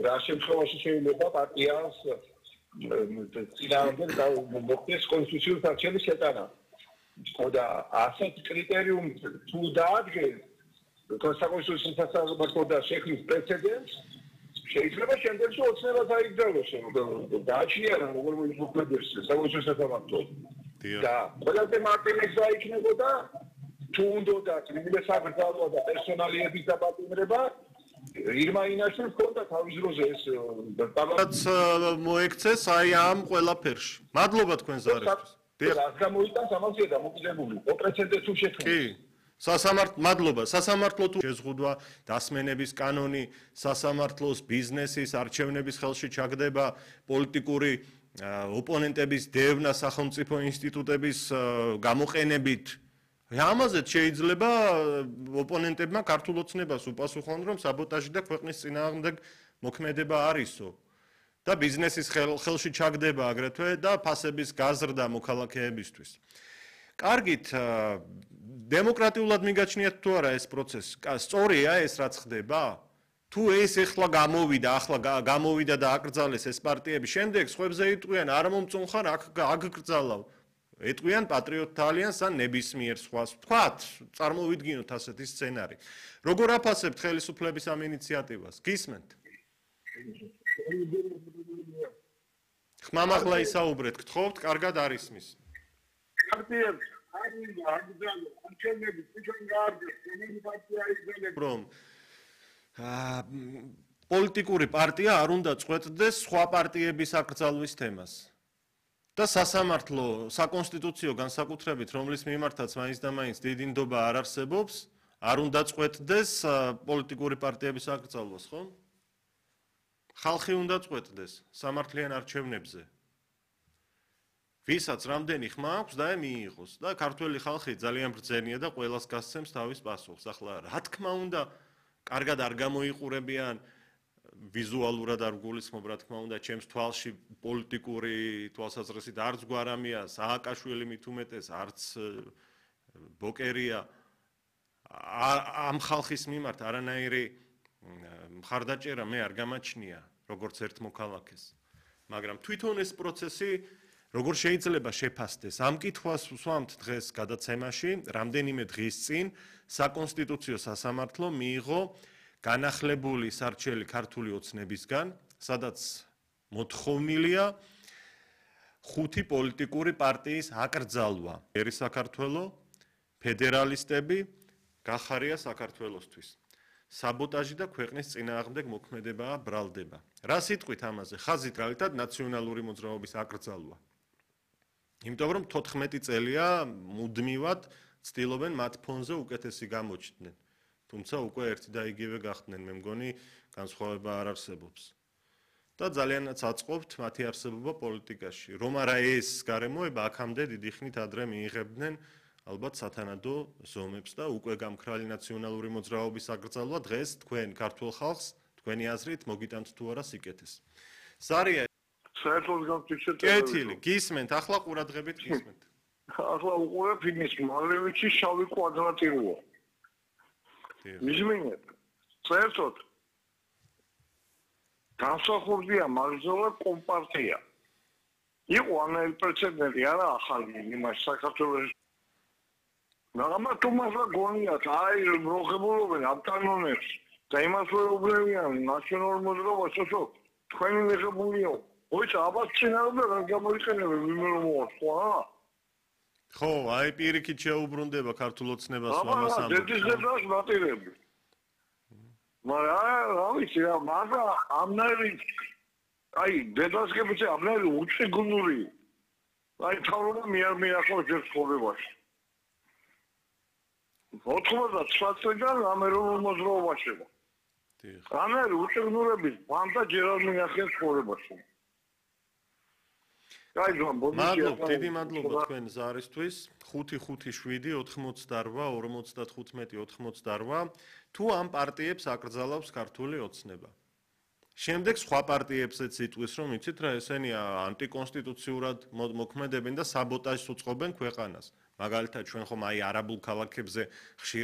რა შემთხვევაში შეიძლება პარტიას წინააღმდეგ მოხდეს კონსტიტუციური არჩევის შეტანა. და ასეთ კრიტერიუმს თუ დაადგენს კონსტიტუციის სასამართლო და შექმნის პრეცედენტს შეიძლება შემდეგში ოცნება დაიგრძელოს დააჩნია როგორ მოხდეს საკონსტიტუციის სასამართლო და ყველაზე მარტივი გზა იქნებოდა თუ უნდა კრიტიკა საკრძალვა და პერსონალიების დაპატიმრება ირმა ინაშვილს ჰქონდა თავის დროზე ეს რაღაც მოექცეს აი ამ ყველაფერში. მადლობა თქვენ ზარისთვის. რაც გამოიტანს ამაზე დამოკიდებული. პრეცედენტს თუ შექმნის. კი. მადლობა. სასამართლო თუ შეზღუდვა, დასმენების კანონი, სასამართლოს ბიზნესის, არჩევნების ხელში ჩაგდება, პოლიტიკური ოპონენტების დევნა სახელმწიფო ინსტიტუტების გამოყენებით ამაზეც შეიძლება ოპონენტებმა ქართულ ოცნებას უპასუხონ, რომ საბოტაჟი და ქვეყნის წინააღმდეგ მოქმედება არისო და ბიზნესის ხელში ჩაგდება აგრეთვე და ფასების გაზრდა მოქალაქეებისთვის. კარგით, დემოკრატიულად მიგაჩნიათ თუ არა ეს პროცესი? სწორია ეს რაც ხდება? თუ ეს ახლა გამოვიდა და აკრძალეს ეს პარტიები, შემდეგ სხვებზე იტყვიან არ მომწონხარ, აქ აგკრძალავ. ეტყვიან პატრიოტთა ალიანსს ან ნებისმიერ სხვას. ვთქვათ, წარმოვიდგინოთ ასეთი სცენარი. როგორ აფასებთ ხელისუფლების ამ ინიციატივას? გისმენთ? ხმამაღლა ისაუბრეთ, გთხოვთ, კარგად არ ისმის. პარტიებს არჩევნების თვითონ გაარდეს, რომელი პარტია იგრძელებს რომ პოლიტიკური პარტია არ უნდა წყვეტდეს სხვა პარტიების აკრძალვის თემას. და სასამართლო საკონსტიტუციო განსაკუთრებით, რომლის მიმართაც მაინც და მაინც დიდი ნდობა არ არსებობს, არ უნდა წყვეტდეს პოლიტიკური პარტიების აკრძალვას, ხო? ხალხი უნდა წყვეტდეს სამართლიან არჩევნებზე. ვისაც რამდენი ხმა აქვს და მიიღოს და ქართველი ხალხი ძალიან ბრძენია და ყველას გასცემს თავის პასუხს. ახლა რა თქმა უნდა, კარგად არ გამოიყურებიან ვიზუალურად არ გულისხმობ, რა თქმა უნდა, ჩემს თვალში პოლიტიკური თვალსაზრისით არც გვარამია, სააკაშვილი მით უმეტეს, არც ბოკერია ამ ხალხის მიმართ არანაირი მხარდაჭერა მე არ გამაჩნია, როგორც ერთ მოქალაქეს. მაგრამ თვითონ ეს პროცესი როგორ შეიძლება შეფასდეს? ამ კითხვას ვსვამთ დღეს გადაცემაში, რამდენიმე დღის წინ საკონსტიტუციო სასამართლო მიიღო განახლებული სარჩელი ქართული ოცნებისგან, სადაც მოთხოვნილია 5 პოლიტიკური პარტიის აკრძალვა. ერი საქართველო, ფედერალისტები, გახარია საქართველოსთვის. საბოტაჟი და ქვეყნის წინააღმდეგ მოქმედებაა ბრალდება. რა სიტყვით ამაზე? ხაზით რალითად ნაციონალური მოძრაობის აკრძალვა. იმიტომ რომ 14 წელია მუდმივად ცდილობენ მათ ფონზე უკეთესი გამოჩნდნენ. თუმცა უკვე ერთი და იგივე გახდნენ, მე მგონი განსხვავება არ არსებობს. და ძალიანაც აწყობთ მათი არსებობა პოლიტიკაში. რომ არა ეს გარემოება აქამდე დიდი ხნით ადრე მიიღებდნენ ალბათ სათანადო ზომებს და უკვე გამქრალი ნაციონალური მოძრაობის აკრძალვა დღეს თქვენ ქართულ ხალხს თქვენი აზრით მოგიტანთ თუ არა სიკეთეს. ზარია საერთოდ გამწიცეთ. კეთილი, გისმენთ, ახლა ყურადღებით გისმენთ. ახლა უყურებ იმის მალევიჩის შავი კვადრატი როა. მისმინეთ, საერთოდ განსახორდია მაგზოლა კომპარტია. იყო ანაირ პრეცედენტი არა ახალი იმას საქართველოს. მაგრამ თუმცა გონიათ აი მოხებულობენ ამ კანონებს და იმას ვეუბნებიან ნაციონალურ მოძრაობას, სულ თქვენი მიღებულიო. ოიც აბა წინააღმდეგ არ გამოიყენებენ მიმერომოა სხვა. ხო, აი პირიქით შეუბრუნდება ქართულ ოცნებას ამას ამბობს. დედის დედას მატირები. მაგრამ რა ვიცი რა, მაგრამ ამნაირი აი დედასგებიც ამნაირი უჩიგუნური. აი თავრობა მიახო ჯერ ცხოვრებაში. 99 წელიდან ამერულ მოძრაობაში. დიახ. ამერი უჩიგუნურების ბანდა ჯერ არ მიახეს ცხოვრებაში. მადლობა, დიდი მადლობა თქვენ ზარისთვის. 5-5-7-88 55-88 თუ ამ პარტიებს აკრძალავს ქართული ოცნება. შემდეგ სხვა პარტიებსაც იტყვის, რომ იცით რა, ესენი ანტიკონსტიტუციურად მოქმედებენ და საბოტაჟს უწყობენ ქვეყანას. მაგალითად, ჩვენ ხომ აი არაბულ ქალაქებზე ხშირად